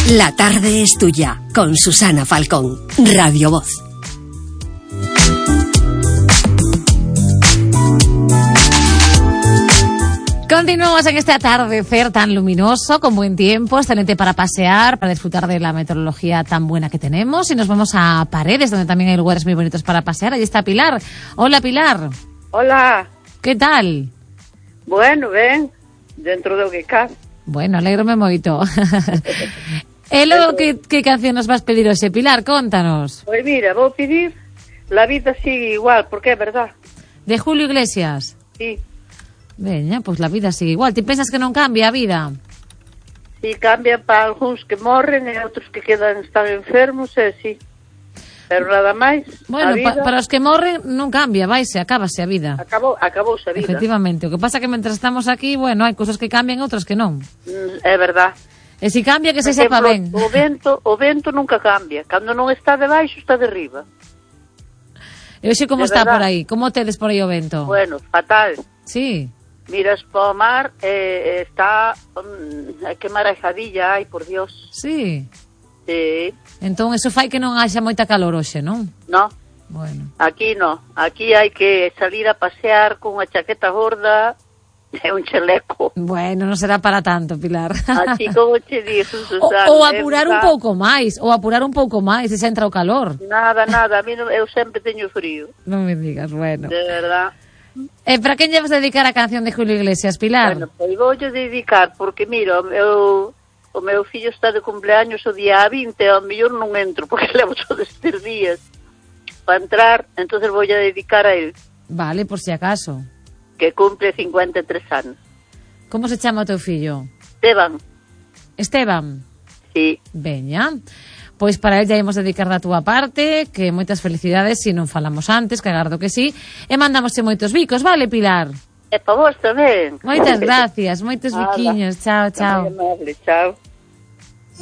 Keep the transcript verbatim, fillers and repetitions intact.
La tarde es tuya, con Susana Falcón, Radio Voz. Continuamos en este atardecer tan luminoso, con buen tiempo, excelente para pasear, para disfrutar de la meteorología tan buena que tenemos. Y nos vamos a Paredes, donde también hay lugares muy bonitos para pasear. Allí está Pilar. Hola, Pilar. Hola. ¿Qué tal? Bueno, ben, dentro do que cabe. Bueno, alégrome moito. E logo, que, que canción nos vas pedir hoxe, Pilar? Contanos. Pois mira, vou pedir La vida sigue igual, porque é verdad. De Julio Iglesias. Sí. Veña, pois La vida sigue igual. Ti pensas que non cambia a vida? Sí, cambia para algúns que morren e outros que quedan están enfermos, e sí. Pero nada máis. Bueno, vida, pa, para os que morren non cambia, vaise, acábase a vida. Acabou, acabouse a vida. Efectivamente, o que pasa que mentras estamos aquí, bueno, hai cousas que cambian, outras que non. Mm, é verdad. E se cambia, que se Por sepa exemplo, ben. O vento, o vento nunca cambia. Cando non está debaixo, está de riba. E hoxe como De está verdad. por aí? Como tedes por aí o vento? Bueno, fatal. Sí. Miras para o mar e eh, está... Um, que marajadilla hai, por Dios. Sí. Sí. Entón, eso fai que non haxa moita calor hoxe, non? No, Bueno. aquí no. Aquí hai que salir a pasear con unha chaqueta gorda e un chaleco. Bueno, non será para tanto, Pilar. Así como che dixo, O, Susana. ou apurar un verdad. pouco máis, ou apurar un pouco máis, se xa entra o calor. Nada, nada. A mí non, eu sempre teño frío. Non me digas, bueno. De verdad. E para quen lle vas dedicar a canción de Julio Iglesias, Pilar? Bueno, pois voulle dedicar, porque mira, o meu, o meu fillo está de cumpleaños o día vinte, ao mellor non entro, porque levo todos estes días para entrar, entonces voulle dedicar a él, Vale, por si acaso. que cumple cincuenta e tres anos. Como se chama o teu fillo? Esteban, Esteban. sí. Veña. Pois para el ya imos dedicar da túa parte, que moitas felicidades, se non falamos antes, que agardo que sí, e mandamosche moitos bicos, vale, Pilar? E para vos tamén. Moitas gracias, moitos Nada. biquiños, chao, chao. Moi amable, chao.